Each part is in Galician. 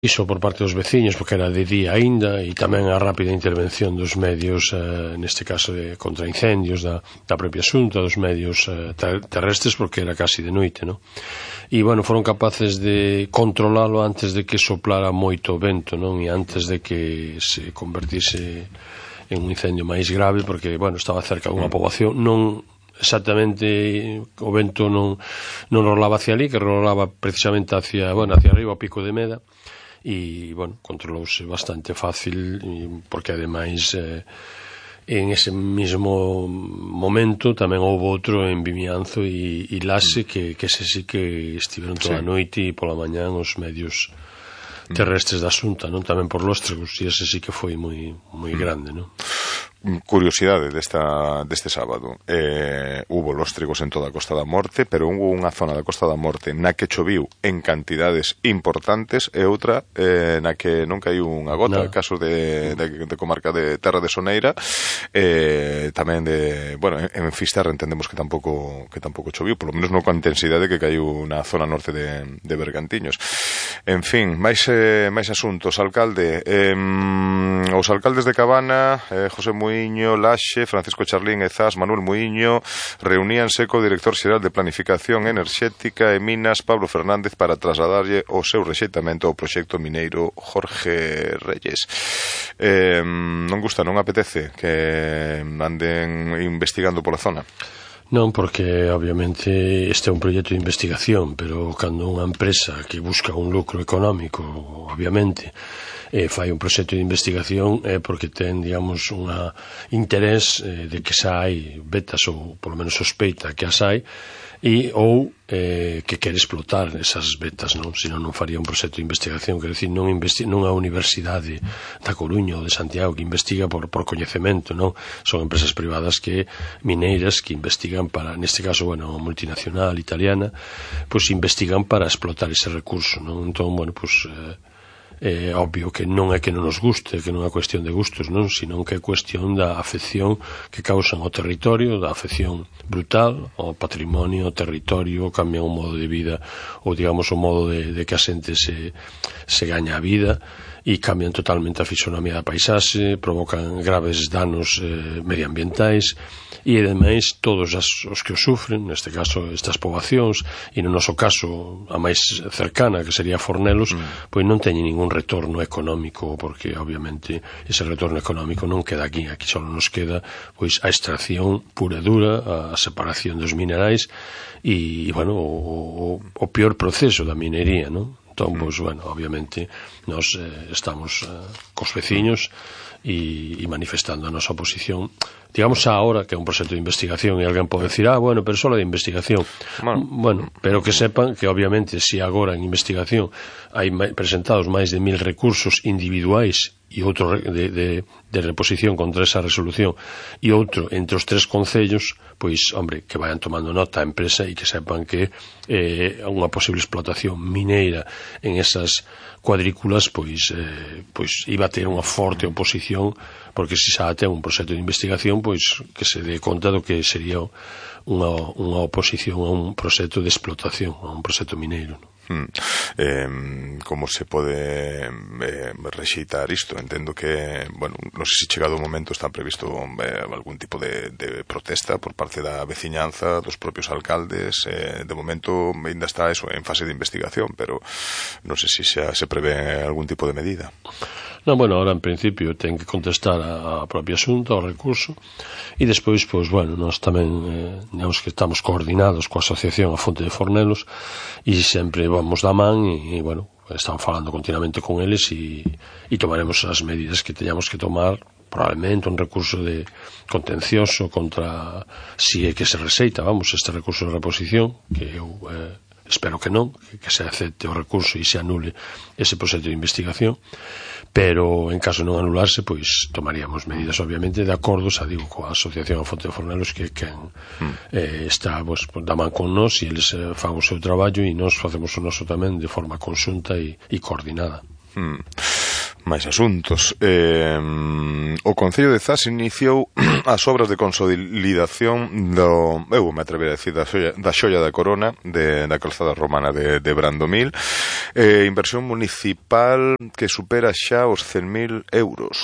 iso por parte dos veciños, porque era de día aínda, e tamén a rápida intervención dos medios, neste caso de contraincendios da propia Xunta, dos medios terrestres, porque era casi de noite, non? E, bueno, foron capaces de controlalo antes de que soplara moito vento, non? E antes de que se convertise en un incendio máis grave, porque, bueno, estaba cerca dunha poboación, non exactamente, o vento non rolaba hacia ali, que rolaba precisamente hacia arriba, ao Pico de Meda, e, bueno, controlouse bastante fácil, porque ademais en ese mismo momento tamén houve outro en Vimianzo e Laxe que ese sí que estiveron toda a noite e pola mañán os medios terrestres da Xunta, non? Tamén por lóstregos, e ese sí que foi moi grande, non? Curiosidade deste sábado, hubo lóstregos en toda a Costa da Morte, pero hubo unha zona da Costa da Morte na que choviu en cantidades importantes e outra na que non caiu unha gota, casos de comarca de Terra de Soneira, tamén en Fisterra entendemos que tampouco choviu, polo menos non coa intensidade que caiu na zona norte de Bergantiños. En fin, máis asuntos. Alcalde, os alcaldes de Cabana, José Muiño, Laxe, Francisco Charlín e Zas, Manuel Muiño, reuníanse co director xeral de Planificación Enerxética e Minas, Pablo Fernández, para trasladarlle o seu rexeitamento ao proxecto mineiro Jorge Reyes. Non gusta, non apetece que anden investigando pola zona? Non, porque obviamente este é un proxecto de investigación, pero cando unha empresa que busca un lucro económico, obviamente, fai un proxecto de investigación é porque ten, digamos, un interés de que xa hai vetas, ou polo menos sospeita que as hai, ou que quere explotar esas vetas, non? Senón non faría un proxecto de investigación, quer dizer, non a Universidade da Coruña ou de Santiago que investiga por coñecemento, non? Son empresas privadas mineiras que investigan para, neste caso, bueno, multinacional italiana, pois investigan para explotar ese recurso, non? Entón, bueno, pois é obvio que non é que non nos guste, que non é cuestión de gustos, non, sino que é cuestión da afección que causan ao territorio, da afección brutal ao patrimonio, ao territorio, cambian o modo de vida, ou digamos o modo de que a xente se gaña a vida, e cambian totalmente a fisonomía da paisaxe, provocan graves danos medioambientais, e ademais todos os que o sufren, neste caso estas poboacións, e no noso caso a máis cercana, que sería Fornelos, pois non teñen ningún retorno económico, porque obviamente ese retorno económico non queda aquí só nos queda pois a extracción pura e dura, a separación dos minerais e bueno, o peor proceso da minería, non? Entón, pois, bueno, obviamente nós estamos cos veciños e manifestando a nosa oposición, digamos, ahora que é un proxecto de investigación, e alguén pode decir, bueno, pero só de investigación. Bueno, pero que sepan que obviamente se agora en investigación hai presentados máis de 1000 recursos individuais e outro de reposición contra esa resolución e outro entre os 3 concellos, pois, hombre, que vayan tomando nota a empresa e que sepan que unha posible explotación mineira en esas cuadrículas pois iba a ter unha forte oposición, porque se xa ten un proxecto de investigación, pois que se dé conta do que sería unha oposición a un proxecto de explotación, a un proxecto mineiro, non? Como se pode rexeitar isto? Entendo que, bueno, non sei se chegado o momento está previsto algún tipo de protesta por parte da veciñanza, dos propios alcaldes. De momento ainda está eso en fase de investigación, pero non sei se xa se prevé algún tipo de medida. Non, bueno, ahora en principio ten que contestar a propia Xunta ao recurso e despois, pois, bueno, nós tamén digamos que estamos coordinados coa asociación A Fonte de Fornelos e sempre vamos da man e bueno, estamos falando continuamente con eles e tomaremos as medidas que teñamos que tomar, probablemente un recurso de contencioso contra si é que se rexeita, vamos, este recurso de reposición, que eu espero que non, que se acepte o recurso e se anule ese proxecto de investigación, pero en caso de non anularse, pois tomaríamos medidas obviamente de acordo, xa digo, coa Asociación A Fonte de Fornelos, que quen está da man con nós, e eles fan o seu traballo e nós facemos o noso tamén de forma conxunta e coordinada. máis asuntos. O Concello de Zas iniciou as obras de consolidación eu me atrever a decir, da xoia da corona da calzada romana de Brandomil, inversión municipal que supera xa os 100.000 euros.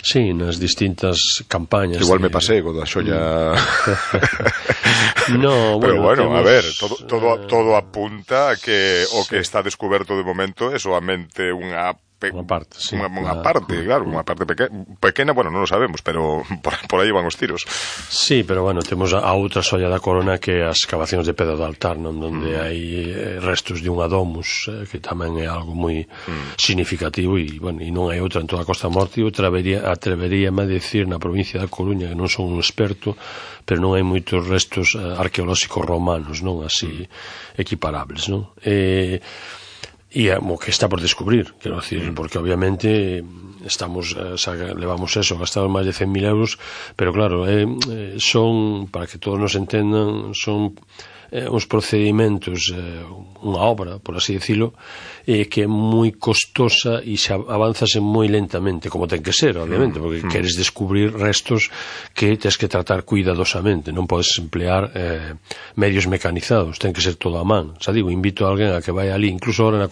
Sí, nas distintas campañas. Igual me pasei co da xoia. No, pero bueno, temos, a ver, todo apunta a que o que está descoberto de momento é solamente unha parte, sí. Unha parte, claro, unha parte pequena, bueno, non o sabemos, pero por aí van os tiros. Sí, pero bueno, temos a outra xoia da corona que as cavacións de pedra do altar, non, onde hai restos de unha domus, que tamén é algo moi significativo e, bueno, e non hai outra en toda a Costa da Morte. Eu atreveríame a decir na provincia da Coruña, que non son un experto, pero non hai moitos restos arqueolóxicos romanos, non, así equiparables, non? E o que está por descubrir, quero decir, porque obviamente levamos eso, gastamos máis de 100.000 euros, pero claro, son, para que todos nos entendan, son uns procedimentos, unha obra, por así decirlo, que é moi costosa e xa avanzase moi lentamente, como ten que ser, obviamente, porque queres descubrir restos que tens que tratar cuidadosamente, non podes emplear medios mecanizados, ten que ser todo a man. Xa digo, invito a alguén a que vai ali, incluso ahora na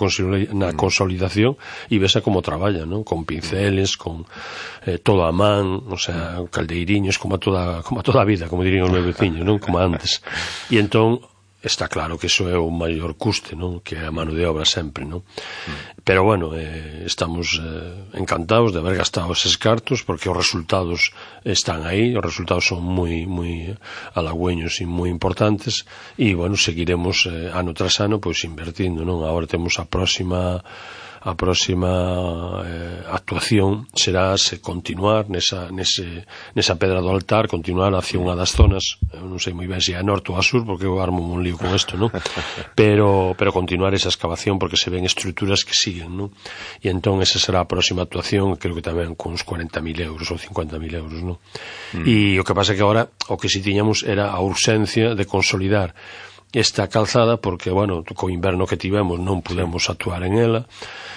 consolidación, e vesa como traballa, non? Con pinceles, con todo a man, o sea, caldeiriños, como a toda a vida, como dirían os meus veciños, non? Como antes. E entón, está claro que iso é o maior custe, non? Que é a mano de obra sempre, non? Pero bueno, estamos encantados de haber gastado eses cartos, porque os resultados están aí, os resultados son moi halagüeños e moi importantes, e bueno, seguiremos ano tras ano pois invertindo, non? Agora temos a próxima actuación será continuar nesa pedra do altar, continuar hacia unha das zonas, eu non sei moi ben se é a norte ou a sur, porque eu armo un lío con isto, non? Pero continuar esa excavación, porque se ven estruturas que siguen, non? E entón esa será a próxima actuación, creo que tamén con uns 40.000 euros ou 50.000 euros, non? E o que pasa é que agora o que si tiñamos era a urxencia de consolidar esta calzada, porque, bueno, co inverno que tivemos non pudemos actuar en ela.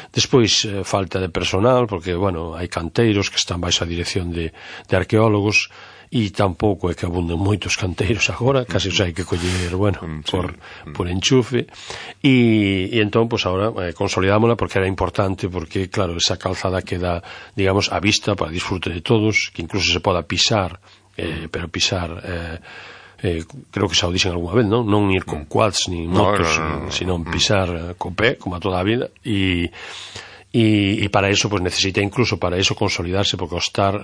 Despois, falta de personal, porque, bueno, hai canteiros que están baixo a dirección de arqueólogos, e tampouco é que abunden moitos canteiros agora, casi os hai que coller, bueno, por enchufe, e entón, pois agora consolidámola, porque era importante, porque, claro, esa calzada queda, digamos, a vista para disfrute de todos, que incluso se poda pisar, pero pisar creo que xa o dixen algunha vez, non ir con quads ni motos, sino pisar co pé, como a toda a vida, e para eso pues necesita incluso para eso consolidarse, porque ao estar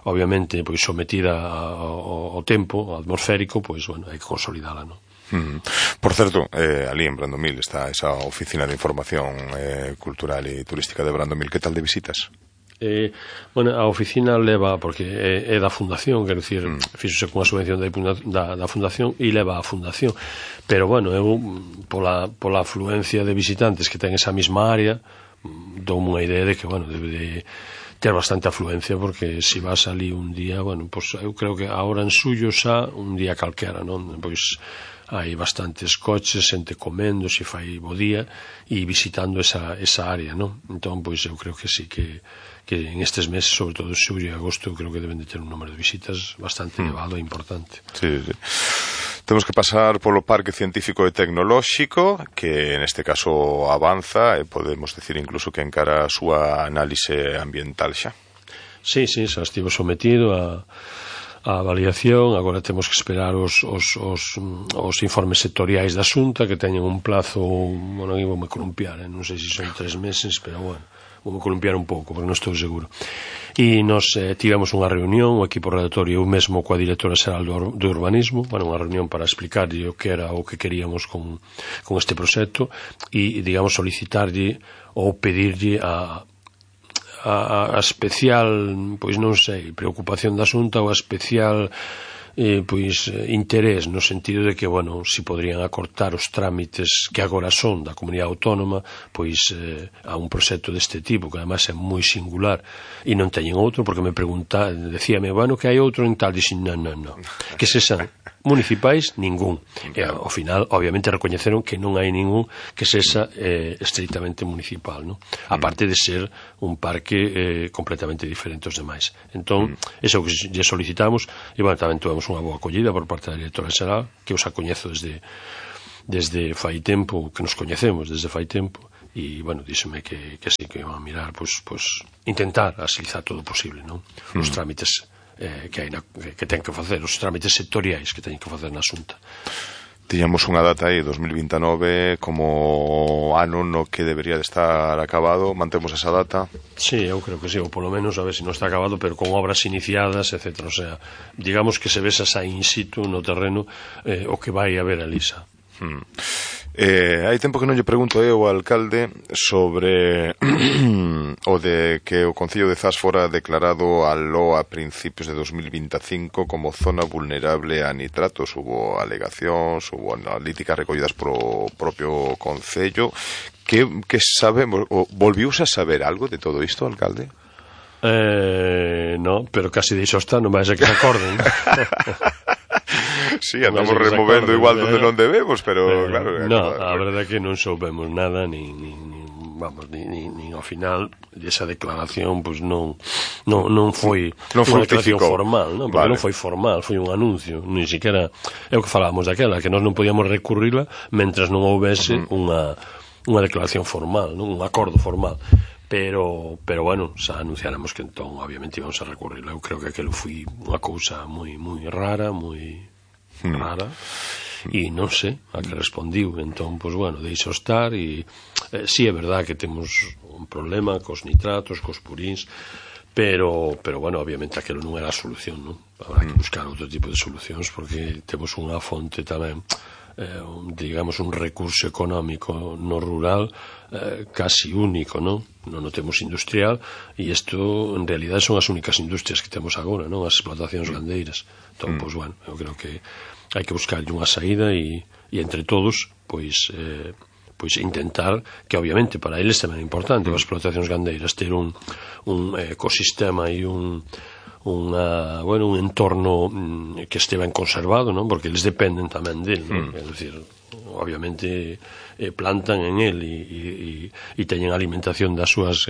obviamente pois sometida ao tempo atmosférico, pois bueno, hai que consolidala, non? Por certo, ali en Brandomil está esa oficina de información cultural e turística de Brandomil. Que tal de visitas? Bueno, a oficina leva, porque é da fundación, quero dicir, fíxose con a subvención da fundación e leva a fundación, pero bueno, eu pola afluencia de visitantes que ten esa mesma área, dou unha idea de que, bueno, debe de ter bastante afluencia, porque se vas ali un día, bueno, pois eu creo que agora en Sullo xa un día calquera, non? Pois hai bastantes coches, xente comendo, se fai bo día, e visitando esa área, non? Entón, pois eu creo que sí que en estes meses, sobre todo xullo e agosto, creo que deben de ter un número de visitas bastante elevado e importante. Sí. Temos que pasar polo Parque Científico e Tecnolóxico, que neste caso avanza, e podemos decir incluso que encara a súa análise ambiental xa. Sí, xa estivo sometido a avaliación. Agora temos que esperar os informes sectoriais da Xunta, que teñen un plazo, bueno, eu vou me columpiar, non sei se son 3 meses, pero bueno, vou columpiar un pouco, porque non estou seguro. E nos tivemos unha reunión, o equipo redactorio, eu mesmo coa directora xeral do urbanismo, bueno, unha reunión para explicarlle o que era o que queríamos con este proxecto, e, digamos, solicitarlle ou pedirlle a especial, pois non sei, preocupación da Xunta, ou a especial pois interés, no sentido de que, bueno, si podrían acortar os trámites que agora son da comunidade autónoma, pois a un proxecto deste tipo, que ademais é moi singular, e non teñen outro, porque me decíame, bueno, que hai outro en tal, dixen, non, que sexan municipais, ningún. E ao final, obviamente, recoñeceron que non hai ningún que sexa estritamente municipal, non? A parte de ser un parque completamente diferente aos demais. Entón, eso que lle solicitamos, e, bueno, tamén tuvemos unha boa acollida por parte da directora xeral, que os acoñezo desde fai tempo, que nos coñecemos desde fai tempo, e, bueno, díxome que sí, que iban a mirar, pues intentar agilizar todo o posible, non? Os trámites que ten que facer, os trámites sectoriais que teñen que facer na Xunta. Tiñamos unha data aí, 2029, como ano no que debería de estar acabado. Mantemos esa data? Sí, eu creo que sí, ou polo menos a ver se non está acabado, pero con obras iniciadas, etc. O sea, digamos que se vesa xa in situ no terreno o que vai haber ali xa. Hai tempo que non lle pregunto ao alcalde sobre o de que o Concello de Zas fora declarado aló a principios de 2025 como zona vulnerable a nitratos. Hubo alegacións, hubo analíticas recollidas pro propio Concello. Que sabemos? Volviuse a saber algo de todo isto, alcalde? No, pero casi dixo está, non vai ser que se acorden. Sí, andamos removendo igual donde non debemos, pero claro... No, a verdade é que non soubemos nada, nin ao final esa declaración pois non foi unha declaración formal, non? Porque non foi formal, foi un anuncio, nin siquiera é o que falábamos daquela, que nós non podíamos recurrila mentras non houbese unha declaración formal, non? Un acordo formal. Pero bueno, xa anunciáramos que entón obviamente íbamos a recurrir. Eu creo que aquilo foi unha cousa moi rara, rara, e non sei a que respondiu. Entón, pois bueno, deixo estar. E si é verdad que temos un problema cos nitratos, cos purins, pero bueno, obviamente aquilo non era a solución, non? Habrá que buscar outro tipo de solucións, porque temos unha fonte tamén, digamos, un recurso económico no rural casi único, non? Non o temos industrial, e isto en realidad son as únicas industrias que temos agora, non? As explotacións gandeiras. Entón, pois bueno, eu creo que hai que buscar unha saída e entre todos, pois intentar que obviamente para eles tamén é importante as explotacións gandeiras ter un ecosistema e un entorno que este ben conservado, non? Porque eles dependen tamén del, non? É dicir, obviamente plantan en el e teñen alimentación das súas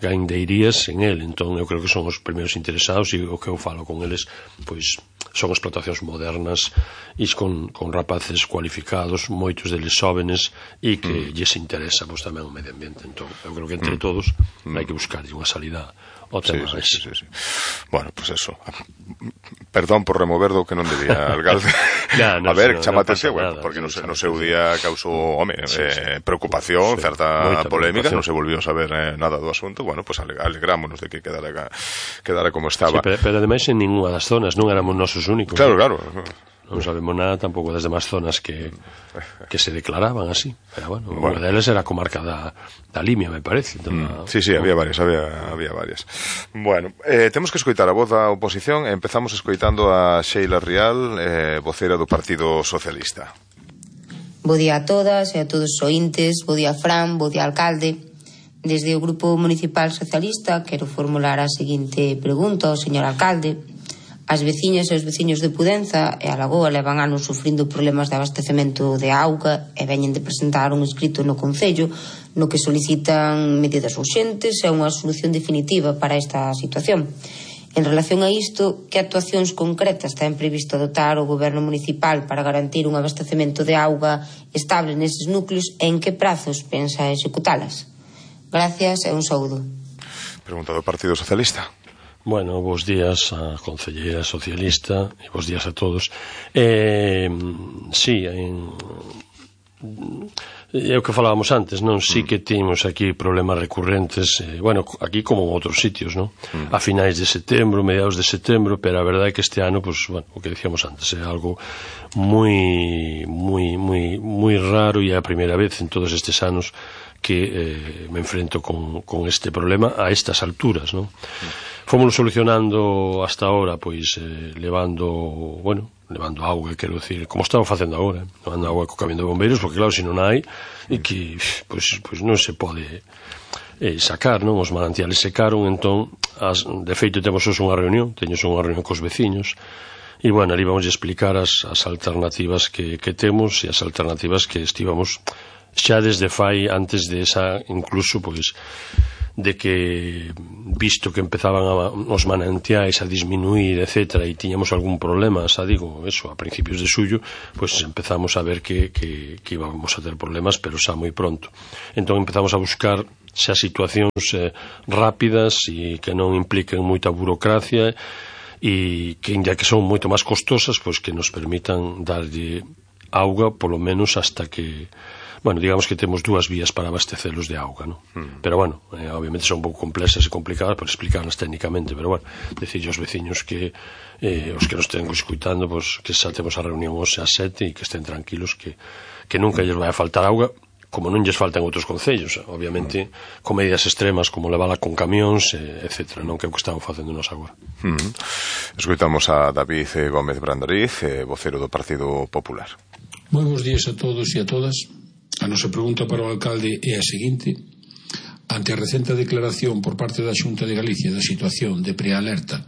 gandeirías en el. Entón eu creo que son os primeiros interesados, e o que eu falo con eles pois son explotacións modernas e con rapaces cualificados, moitos deles xóvenes, e que lles interesa pois tamén o medio ambiente. Entón eu creo que entre todos hai que buscar unha salida ao tema. Sí. Bueno, pues eso, perdón por remover do que non debía, alcalde. A ver, chama atención, porque no seu día causou, preocupación, certa polémica, non se volvió a saber nada do asunto. Bueno, pues alegrámonos de que quedara como estaba. Pero ademais en ninguna das zonas non éramos nosos únicos. Claro. Non sabemos nada tampouco das demais zonas que se declaraban así. Pero bueno, unha delas era a comarca da Limia, me parece. Sí, había varias. Bueno, temos que escoitar a voz da oposición. Empezamos escoitando a Sheila Rial, voceira do Partido Socialista. Bo día a todas e a todos os ointes, bo día Fran, bo día alcalde. Desde o Grupo Municipal Socialista quero formular a seguinte pregunta ao señor alcalde. As veciñas e os veciños de Pudenza e a Lagoa levan anos sufrindo problemas de abastecemento de auga e veñen de presentar un escrito no Concello no que solicitan medidas urxentes e unha solución definitiva para esta situación. En relación a isto, que actuacións concretas ten previsto adoptar o Goberno Municipal para garantir un abastecemento de auga estable neses núcleos e en que prazos pensa executalas? Gracias e un saúdo. Pregunta do Partido Socialista. Bueno, bos días a concelleira socialista e bos días a todos. Sí, é o que falábamos antes, non? Sí que temos aquí problemas recurrentes, bueno, aquí como en outros sitios, non? A finais de setembro, mediados de setembro, pero a verdade é que este ano, pues, bueno, o que decíamos antes, é algo moi raro, e é a primeira vez en todos estes anos que me enfrento con este problema a estas alturas, non? Fomos solucionando hasta ahora, pois, levando auga, quero dicir, como estamos facendo agora, levando auga co camión de bombeiros, porque claro, se non hai, e que, pois non se pode sacar, non? Os manantiales secaron, entón, de feito temos unha reunión, teño unha reunión cos veciños, E, bueno, ali vamos a explicar as alternativas que temos e as alternativas que estivamos xa desde fai, antes de esa, incluso, pois, de que, visto que empezaban os manantiais a disminuir, etc., e tiñamos algún problema, xa digo, eso, a principios de xullo, pois empezamos a ver que íbamos a ter problemas, pero xa moi pronto. Entón empezamos a buscar xa situacións rápidas e que non impliquen moita burocracia e que, ya que son moito máis costosas, pois que nos permitan darlle auga, polo menos hasta que, bueno, digamos que temos dúas vías para abastecelos de auga, ¿no? Pero, bueno, obviamente son un pouco complexas e complicadas por explicarlas técnicamente, pero, bueno, decirle aos veciños que os que nos estén escuitando, pois, que xa temos a reunión hoxe ás 7 e que estén tranquilos que nunca lles vai a faltar auga, como non lles faltan outros concellos, obviamente, con medidas extremas como levala con camións, etc., non que é o que estamos facendo nos agora. Escoitamos a David Gómez Brandoriz, vocero do Partido Popular. Moi bons días a todos e a todas. A nosa pregunta para o alcalde é a seguinte: ante a recente declaración por parte da Xunta de Galicia da situación de prealerta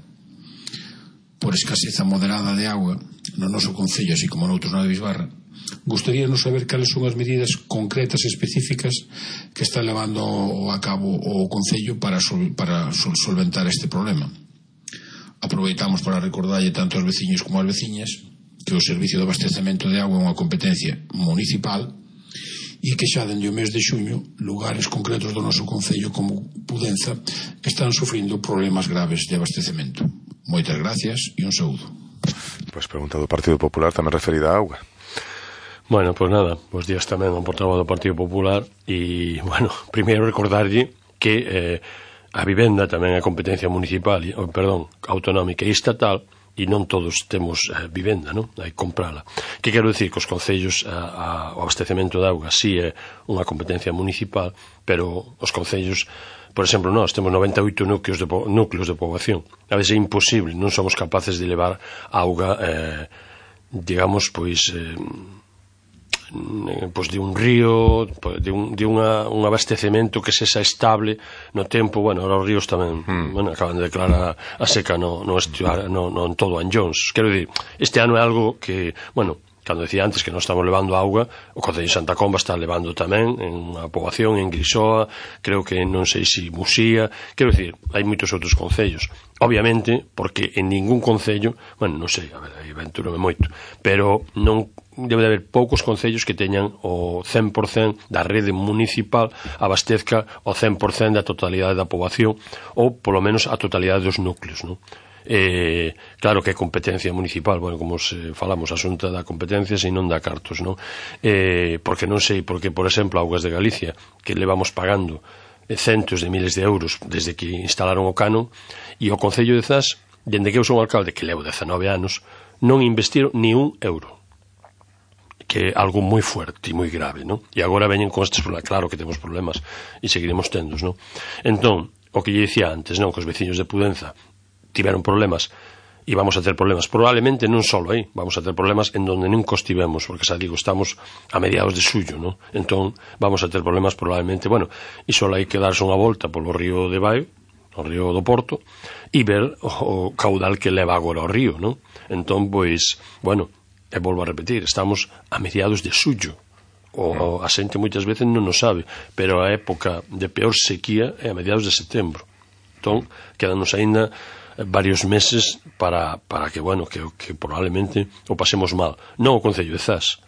por escaseza moderada de auga no noso concello, así como noutros na de Bisbarra, gustaríanos saber cales son as medidas concretas e específicas que está levando a cabo o concello para solventar este problema. Aproveitamos para recordarlle tanto aos veciños como ás veciñas que o servicio de abastecemento de auga é unha competencia municipal e que xa dende o mes de xuño lugares concretos do noso concello como Pudenza están sufrindo problemas graves de abastecemento. Moitas gracias e un saúdo. Pois pregunta do Partido Popular tamén referida á auga. Bueno, pois nada, bons días tamén ao portavoz do Partido Popular e, bueno, primeiro recordarlle que a vivenda tamén é competencia municipal, autonómica e estatal, e non todos temos vivenda, non? Hai que comprala. Que quero dicir? Que os concellos, o abastecemento de auga si é unha competencia municipal, pero os concellos, por exemplo, nós temos 98 núcleos de poboación. A veces é imposible, non somos capaces de levar auga, digamos, pois de un río, de un abastecemento que sexa estable no tempo. Bueno, ahora os ríos tamén acaban de declarar a seca no todo Anllóns. Quero dicir, este ano é algo que, bueno, cando decía antes que non estamos levando auga, o Concello de Santa Comba está levando tamén en unha poboación, en Grisoa, creo que non sei se Musía, quero dicir, hai moitos outros concellos. Obviamente, porque en ningún concello, bueno, non sei, a ver, aí aventúrome moito, pero non debe de haber poucos concellos que teñan o 100% da rede municipal abastezca o 100% da totalidade da poboación, ou polo menos a totalidade dos núcleos, non? Claro que é competencia municipal, bueno, como falamos, a Xunta da competencia e non da cartos, non? Porque non sei, porque, por exemplo, Augas de Galicia, que levamos pagando centos de miles de euros desde que instalaron o canon, e o Concello de Zas, dende que eu son alcalde, que levo 19 anos, non investiron ni un euro, que é algo moi fuerte e moi grave, non? E agora veñen con estes problemas. Claro que temos problemas e seguiremos tendos, non? Entón, o que lle dicía antes, non? Que os veciños de Pudenza tiveron problemas e vamos a ter problemas, probablemente non só aí, vamos a ter problemas en donde nunca estivemos, porque xa digo, estamos a mediados de xullo, non? Entón vamos a ter problemas probablemente, bueno, e só hai que darse unha volta polo río de Baio, o río do Porto, e ver o caudal que leva agora o río, non? Entón, pois, bueno, e volvo a repetir, estamos a mediados de xullo, a xente moitas veces non o sabe, pero a época de peor sequía é a mediados de setembro. Entón, quedanos aínda varios meses para que, bueno, que probablemente o pasemos mal. Non o Concello de Zas,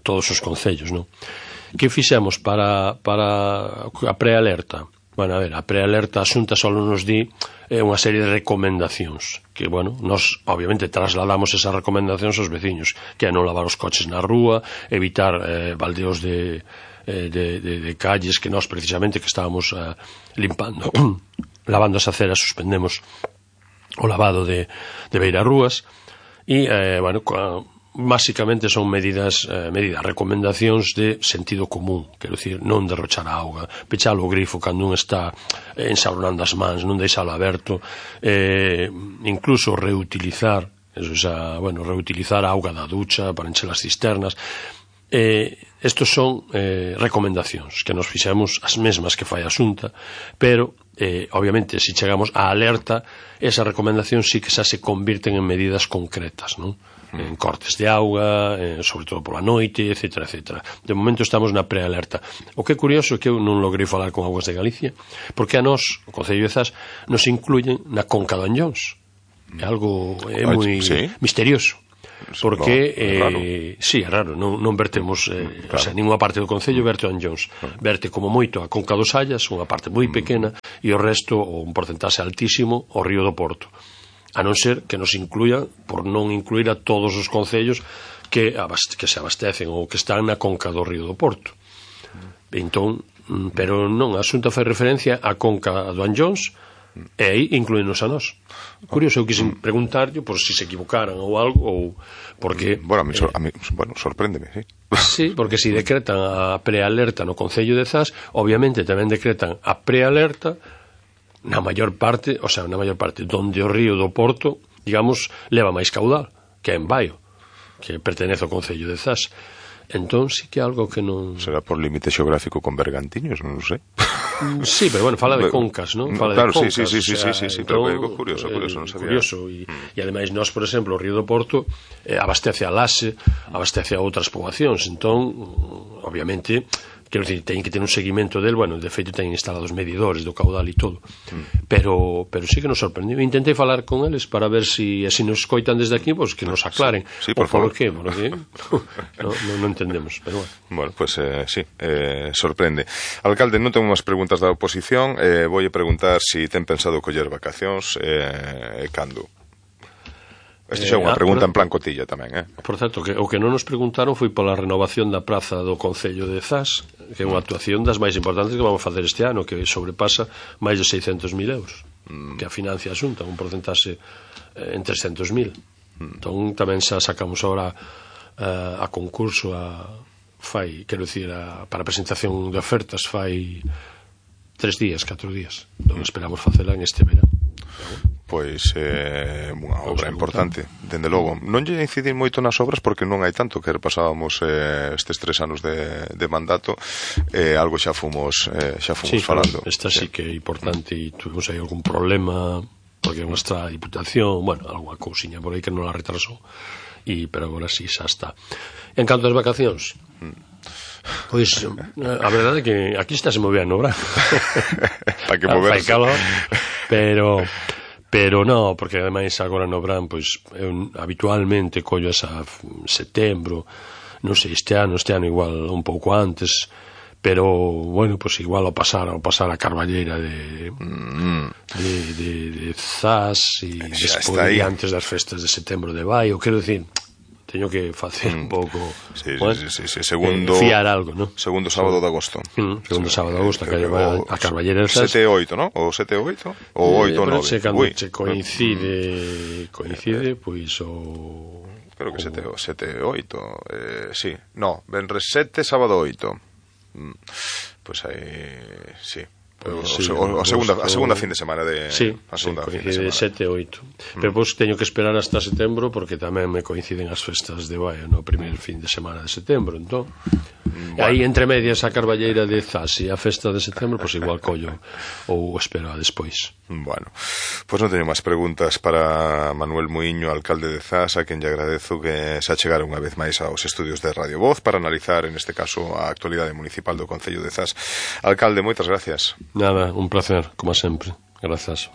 todos os concellos, non? Que fixemos para a prealerta? Bueno, a ver, a prealerta, a Xunta só nos di unha serie de recomendacións que, bueno, nós obviamente trasladamos esas recomendacións aos veciños, que é non lavar os coches na rúa, evitar baldeos de calles que nós precisamente que estábamos limpando, lavando as aceras, suspendemos o lavado de beirarrúas e, bueno, básicamente son medidas, recomendacións de sentido común, quero dicir, non derrochar a auga, pechar o grifo cando un está ensabronando as mans, non deixalo aberto, incluso reutilizar, reutilizar a auga da ducha para encher as cisternas. Estos son recomendacións que nos fixemos as mesmas que fai a Xunta, pero obviamente, se chegamos á alerta, esa recomendación sí que xa se convirten en medidas concretas, non? En cortes de auga, sobre todo pola noite, etcétera, etcétera. De momento estamos na prealerta. O que é curioso é que eu non logrei falar con Augas de Galicia, porque a nós, o Concello de Zas, nos incluyen na Conca do Anllóns. É algo moi misterioso. Porque sí, é raro, non vertemos o sea, ninguna parte do Concello verte o Anllóns, verte como moito a Conca dos Sallas, unha parte moi pequena, e o resto, un porcentaxe altísimo, o Río do Porto, a non ser que nos incluya, por non incluir a todos os concellos que se abastecen ou que están na Conca do Río do Porto. Entón, pero non, a Xunta fai referencia á Conca do Anllóns, e aí incluínos a nós. Curioso, eu quixen preguntarlle por si se equivocaran ou algo, ou porque bueno, a mí sorpréndeme, sí. Sí, porque si decretan a prealerta no Concello de Zas, obviamente tamén decretan a prealerta na maior parte, donde o río do Porto, digamos, leva máis caudal, que é en Baio, que pertenece ao Concello de Zas. Entón, sí que é algo que non... Será por límite xeográfico con Bergantiños, non sei. Sí, pero bueno, fala de concas, non? Fala claro, de concas, sí, pero é curioso, non sabía. Curioso, e ademais nós, por exemplo, o Río do Porto abastece a Laxe, abastece a outras poboacións, entón, obviamente, quero dicir, teñen que ter un seguimento del, bueno, de feito teñen instalados medidores do caudal e todo, pero sí que nos sorprendiu. Intentei falar con eles para ver si nos escoitan desde aquí, pues que nos aclaren. Sí, por favor. Porque non entendemos, pero bueno. Bueno, pues sí, sorprende. Alcalde, non tengo máis preguntas da oposición, voulle preguntar si ten pensado coller vacacións e cando. Esta xa é unha pregunta en plan cotilla tamén, Por certo, o que non nos preguntaron foi pola renovación da praza do Concello de Zas, que é unha actuación das máis importantes que vamos a facer este ano, que sobrepasa máis de 600.000 euros, que a financia a Xunta, un porcentaxe en 300.000. Entón, tamén xa sacamos ahora a concurso para a presentación de ofertas fai 4 días. Non esperamos facela en este verano. Pois unha obra importante, dende logo. Non lle incidir moito nas obras porque non hai tanto, que repasábamos estes 3 anos de mandato, algo xa fomos falando. Esta sí que é importante e tuvimos aí algún problema porque nuestra diputación, bueno, alguna cousiña por aí que non la retrasou, pero agora sí xa está. En canto ás vacacións, pois a verdade é que aquí está se movía no verán. Para que moverse. Fai calor, pero non, porque ademais agora no verán, pois eu habitualmente collo esa setembro, non sei, este ano igual un pouco antes, pero bueno, pois igual ao pasar a Carballeira de Zas e despois antes das festas de setembro de Baio, quero dicir, teño que facer un pouco segundo fiar algo, ¿no? Segundo sábado de agosto. Segundo sábado de agosto, que a Carballeira 7 e 8, ¿no? O 7 e 8 ou 8 e 9. Se coincide, pois o... Creo que 7 e 8, sí. No, venres 7, sábado 8. Pois aí, sí. A segunda fin de semana de... Sí, coincide 7 e 8. Pero pois teño que esperar hasta setembro porque tamén me coinciden as festas de Baio no primeiro fin de semana de setembro, entón aí entre medias a Carballeira de Zas e a festa de setembro, pois igual collo ou espero a despois. Bueno, pois non teño máis preguntas para Manuel Muiño, alcalde de Zas, a quen lle agradezo que se achegara unha vez máis aos estudios de Radio Voz para analizar, en este caso, a actualidade municipal do Concello de Zas. Alcalde, moitas gracias. Nada, un placer, como sempre. Grazas.